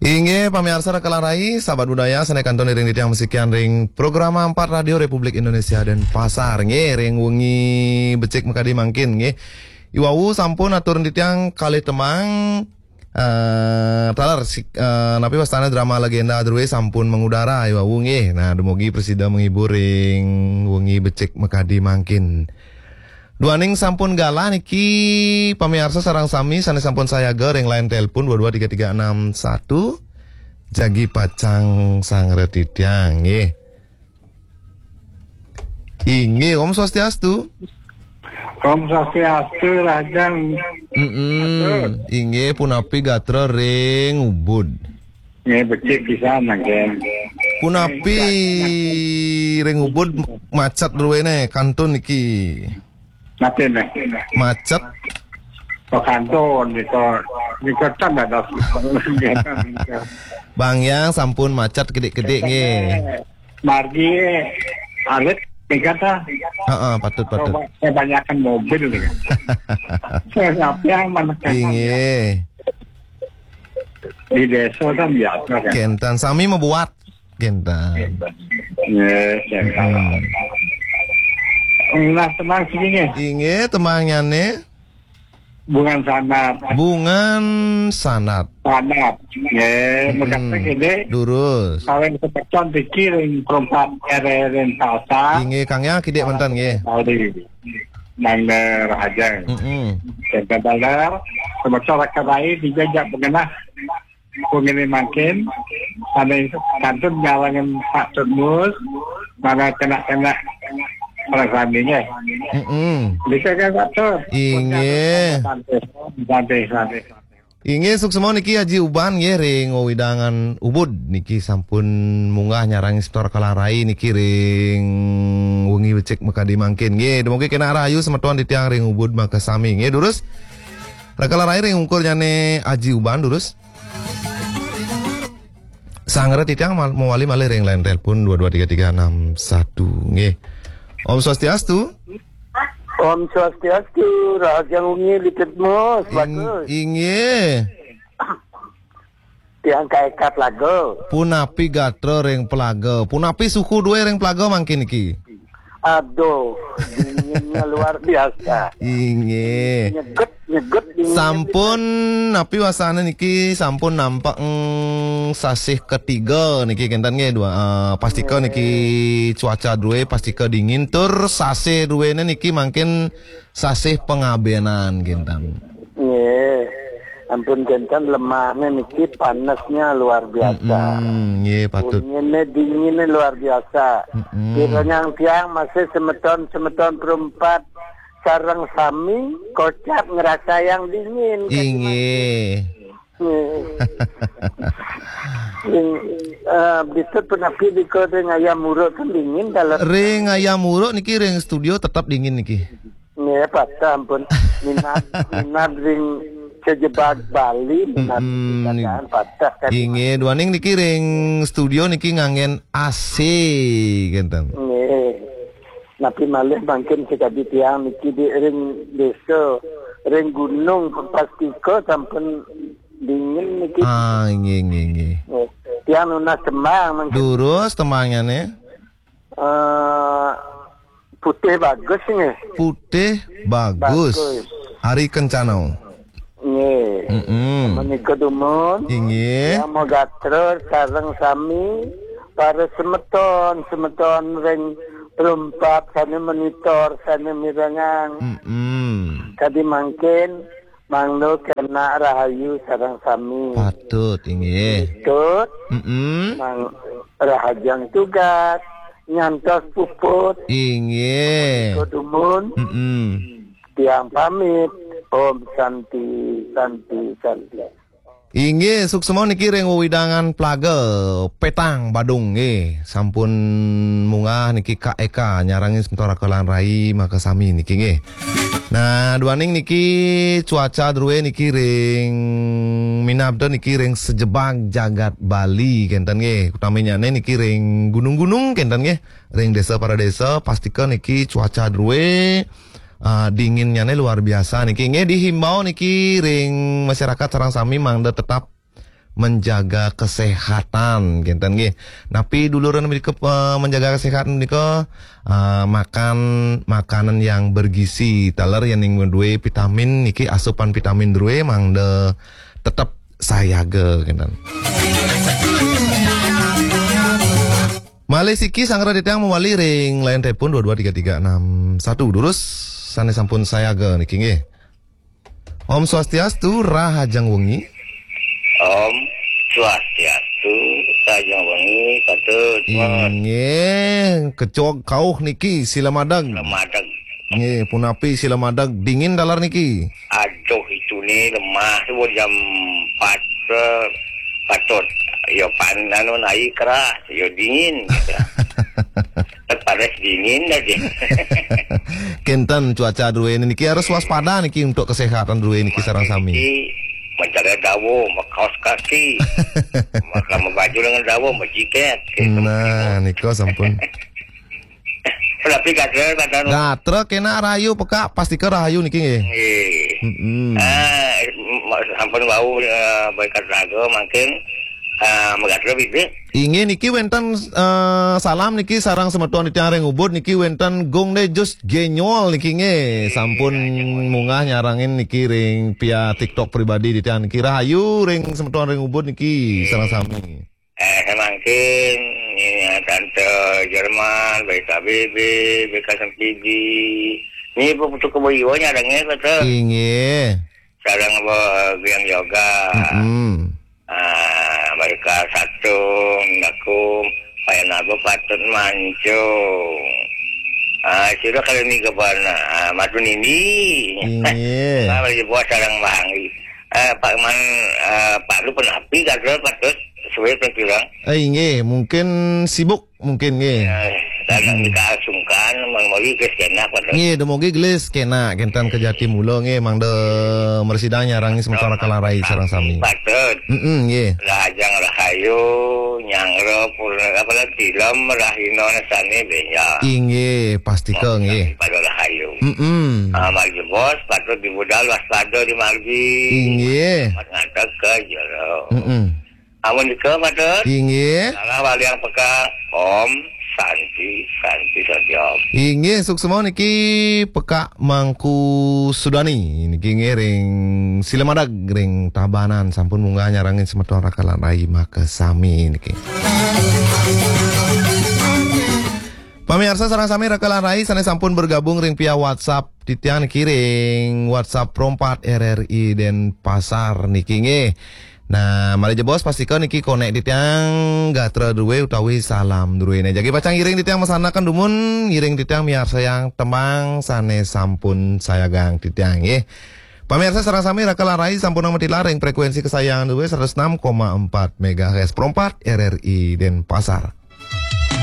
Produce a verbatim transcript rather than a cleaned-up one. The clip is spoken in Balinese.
Inggih pamiarsa Raka lan Rai, sahabat budaya, sané kantun iring titiang masikian ring Programa Empat Radio Republik Indonesia Denpasar. Nggih, ring wengi becik makadi mangkin nggih. Iwau sampun atur titiang kalih tembang, eh, taler si-, eh, napi wastané drama legenda drué sampun mengudara iwau nggih. Nah, dumugi prasida menghibur ring wengi becik makadi mangkin. Duaning sampun galah niki pamiarsa sareng sami sané sampun sayaga ring line telepon dua dua tiga tiga enam satu. Jagi pacang sanggra titiang nggih. Inggih, Om Swastiastu. Om Swastiastu, Rahajeng. Mm-mm. Inggih, punapi gatra ring Ubud? Nggih, becik pisan mangkin. Punapi ring Ubud macet druéné kantun niki? Napi né? Macet. Kok kantun nika, nika kan ada. Bang Yang sampun macet kidik-kidik nggih. Margi alit nika ta. Heeh, patut, patut. Kebanyakan mobil nih. Saya sampai yang mana kan? Inggih. Di desa kan biasa kan. Kénten sami mabuat. Kénten. Nggih, kénten. Hmm. Nah, tenang sini nggih. Inggih, tembangnyané. Bungan Sanat. Bungan Sanat. Sanat. Nggih, hmm, mekaten gini. Durus. Kawin semeton niki ring perempat R R N Salsa. Inggih, Kang Yang kidik manten nggih. Saudi. Nang Rahajeng. Mm-mm. Kénten taler, semeton Raka Rai dijajak pengenah. Pungini mangkin, sané kantun nyarengin Pak Tut Mus, mangda kena-kena ring sami nggih. Mm-mm. Bisa kan, Pak Tut? Inggih. Santai, santai, santai. Inggih, suksma niki Aji Uban nggih ring wewidangan Ubud niki sampun munggah nyarengin semeton Raka lan Rai niki ring wengi becik makadi mangkin. Nggih, dumugi kena rahayu semeton titiang ring Ubud makasami. Nggih, durus. Raka lan Rai ring ungkurnyané Aji Uban, durus. Sanggra titiang mal-, mawali malih ring line telepon dua dua tiga tiga enam satu. Nggih. Om Swastiastu. Om Swastiastu, Rahajeng wengi Litut Mus, ing-, bagus. Inggih. Tiang kaéka Tlaga. Punapi gatra ring Tlaga? Punapi suhu drué ring Tlaga mangkin niki? Aduh, dinginnya luar biasa. Inggih. Nyeget, nyeget, dingin. Sampun, napi wastané niki sampun nampek, mm, sasih ketiga niki kénten nggih, dua, eh, pastika niki cuaca drué pastika dingin tur sasih druéné niki mangkin sasih pangabénan kénten. Nggih. Ampun kénten lemahnya niki panasnya luar biasa. Mm-mm, nggih, patut. Dinginnya, dinginnya luar biasa. Mm-mm. Kiranya tiang masih semeton-semeton perempat sareng sami kocap ngerasa yang dingin. Inggih. Nggih. Ing, eh, bisa punapi di kota ngayam muruk kan dingin kalau ring ngayam muruk niki ring studio tetap dingin niki. Nggih, patah ampun. Minat, minat ring sejebag Bali, minat. Mm-mm. Dikatakan patah kan. Inggih, duaning niki ring studio niki nganggén A C, kénten. Nggih. Napi malih mangkin sakadi tiang niki di ring desa, ring gunung, pastika sampun dingin niki. Ah, inggih, inggih, inggih. Nggih. Tiang nunas tembang mangkin. Durus tembangnyané? Eh, Putih Bagus nggih. Putih Bagus. Bagus. Ari Kencana. Nggih. Mm-mm. Menika dumun. Inggih. Tiang magatra sareng sami para semeton, semeton ring perempat sané monitor, sané mirengang. Mm-mm. Kadi mangkin Mangda kena rahayu sareng sami. Patut, inggih. Patut. Mm-mm. Mang Rahajeng tugas nyantos puput. Inggih. Kodumun. Mm-mm. Tiang pamit. Om Santi, Santi, Santi. Inggih, suksma niki ring wewidangan Plaga, Petang, Badung nggih. Sampun munggah niki Kak Eka nyarengin semeton Raka lan Rai makasami niki nggih. Nah, duaning niki cuaca drué niki ring minab niki ring sejebag jagat Bali kénten nggih. Utaminyané niki ring gunung-gunung kénten nggih. Ring désa para désa pastika niki cuaca drué, ah, dinginnyané luar biasa niki. Nggih dihimbau niki ring masyarakat sareng sami mangda tetap menjaga kesehatan, kinten nggih. Napi duluran menika, eh, menjaga kesehatan menika, eh, makan makanan yang bergizi. Taler yen ning duwe vitamin niki, asupan vitamin duwe mangda tetep sayaga, kinten. Malih siki sanggra titiang mawali ring line telepon dua dua tiga tiga enam satu. Durus sane sampun sayaga niki nggih. Om Swastiastu, rahajeng wengi. Om Swastiastu, rahajeng wengi, Patut. Inggih, kecog kauh niki sila madeg. Sila madeg. Nggih, punapi sila madeg, dingin taler niki? Aduh, itu nih lemah tuh jam empat, eh, Patut. Yo pan anu naik keras, yo dingin. Panas dingin aja. Kinten cuaca druene niki harus waspada niki untuk kesehatan druene niki sareng sami. Niki mencari dawa, makaos kaki. Maka membaju dengan dawa, majiket. Nah, nika sampun. Tapi gatra, gatra. Gatra kena rahayu peka, pastika rahayu niki nggih. Nggih. Mm-mm. Ah, m-, sampun wau, eh, berkat raga mangkin, eh, magatra bibit. Inggih niki wenten, eh, salam niki sareng semeton titiang ring Ubud niki wenten Gung Dejus Genyol niki nggih. Sampun munggah nyarengin niki ring via TikTok pribadi titiang niki. Rahayu ring semeton ring Ubud niki sareng sami. Eh, mangkin, ini, ya, Tante Jerman, B K B B, B K S M P D. Ini putu kebo iwa nyarengin, Tante. Inggih. Sareng apa, Biang Yoga. Mm-mm. Ah, mereka satu, aku, Paya Nago Patut Mancung. Ah, sudah kali ini ke mana? Ah, Madu Nini. Inggih. Ah, lagi buat sareng Bang. Eh, Pak Man, eh, Pak Lu penapi, Patut, Patut, suwe pun bilang. Eh, inggih, mungkin sibuk, mungkin nggih. Eh, dan Mm-mm. Kita sungkan, memori ke sejenak, Patut. Nggih, dumugi gelis kena kinten ke Jati Mula nggih, mangda mresidang nyarengin semeton raka lan rai sareng sami. Patut. Mm-mm, nggih. Rahajeng rahayu, nyanggra purna, apa lah, tilem, rahina sane benjang. Inggih, pastika nggih. Pada rahayu. Mm-mm. Ah, margi bos, patut dibudal waspada di margi. Inggih. Amat ngadeg ke jero. Mm-mm. Amun nika, Patut. Inggih. Salah waliang peka. Om Santi, Santi, Santi, Om. Inggih, suksma niki peka Mangku Sudani. Niki nggih ring Silemadag, ring Tabanan. Sampun munggah nyarengin semeton raka lan rai makasami niki. Pamiarsa sareng sami raka lan rai sane sampun bergabung ring via WhatsApp titiang niki ring WhatsApp Pro empat R R I Denpasar niki nggih. Nah, malih jebos pastika niki konek titiang gatra druwe utawi salam druwene. Jagi pacang ngiring titiang masanaken dumun, ngiring titiang miarsayang tembang sane sampun sayagang titiang nggih. Pamiarsa sareng sami raka lan rai sampun matilar ring frekuensi kesayangan druwe seratus enam koma empat megahertz Pro empat R R I Denpasar.